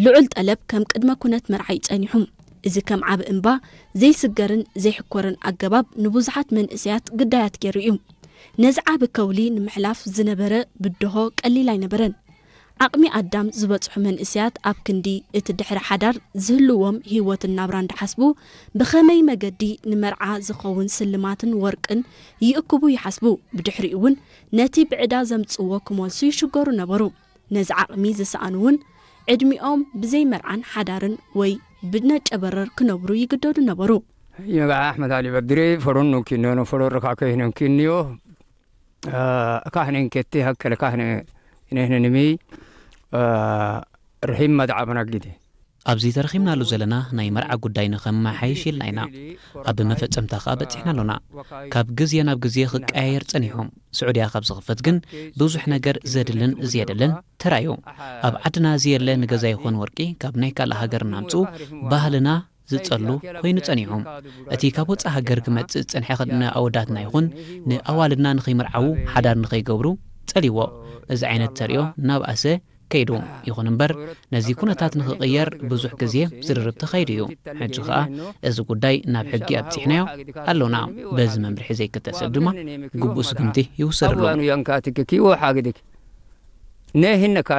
ልዑል ጠለብ ከም ቅድመ ኩነት መርዓ እዩ ጸኒሑ። እዚ ከም ዓቢ እምባ ዘይስገርን ዘይሕኮርን ኣገባብ ንብዙሓት መንእሰያት ግዳያት ገይሩ እዩ። ነዚ ዓቢ ከውሊ ንምሕላፍ ዝነበረ ብድሆ ቀሊል ኣይነበረን። ዓቕሚ ኣዳም ዝበጽሑ መንእሰያት ኣብ ክንዲ እቲ ድሕሪ ሓዳር ዝህልዎም ህይወትን ናብራን ድሓስቡ፣ ብኸመይ መገዲ ንመርዓ ዝኸውን ስልማትን ወርቅን ይእክቡ ይሓስቡ። ብድሕሪኡ እውን ነቲ ብዕዳ ዘምጽዎ ክመልሱ ይሽገሩ ነበሩ። ነዚ ዓቕሚ ዝሰኣኑ እውን ዕድሚኦም ብዘይ መርዓን ሓዳርን ወይ ብነጨበረር ክነብሩ ይግደዱ ነበሩ። ይበዓ ኣሕመድ ኣሊ በድሪ ፈሮን ኖንኪኖ ፈሮ ረካ ከይኖንኪንዮ ካህነን ከቲ ሃከለ ካህነ ነህነ ንሚ ርሒም መድዓብና ግዲ ኣብዚ ተረኺብናሉ ዘለና ናይ መርዓ ጉዳይ ንኸመሓይሽ ኢልና ኢና። ኣብ መፈጸምታ ከኣ በጺሕና ኣሎና። ካብ ግዜ ናብ ግዜ ክቀያየር ጸኒሑ። ስዑድያ ካብ ዝኽፈት ግን ብዙሕ ነገር ዘድልን ዘየድልን ተራእዩ። ኣብ ዓድና ዘየለ ንገዛ ይኹን ወርቂ ካብ ናይ ካልእ ሃገር እናምጽኡ ባህልና ዝጸሉ ኮይኑ ጸኒሑ። እቲ ካብ ወጻኢ ሃገር ክመጽእ ዝጸንሐ ንኣወዳትና ይኹን ንኣዋልድና ንኸይምርዓዉ ሓዳር ንኸይገብሩ ጸልይዎ። እዚ ዓይነት ተርእዮ እናብኣሰ ከይዱ። ይኹን እምበር ነዚ ኩነታት ንኽቕየር ብዙሕ ግዜ ዝርርብ ተኻይዱ እዩ። ሕጂ ኸኣ እዚ ጉዳይ ናብ ሕጊ ኣብጺሕናዮ ኣሎና። በዚ መምርሒ ዘይክተል ሰብ ድማ ግቡእ ስጉምቲ ይውሰደሉ። ኣዋኑ ያንካትክ ኪዎ ሓግድክ ነህነካ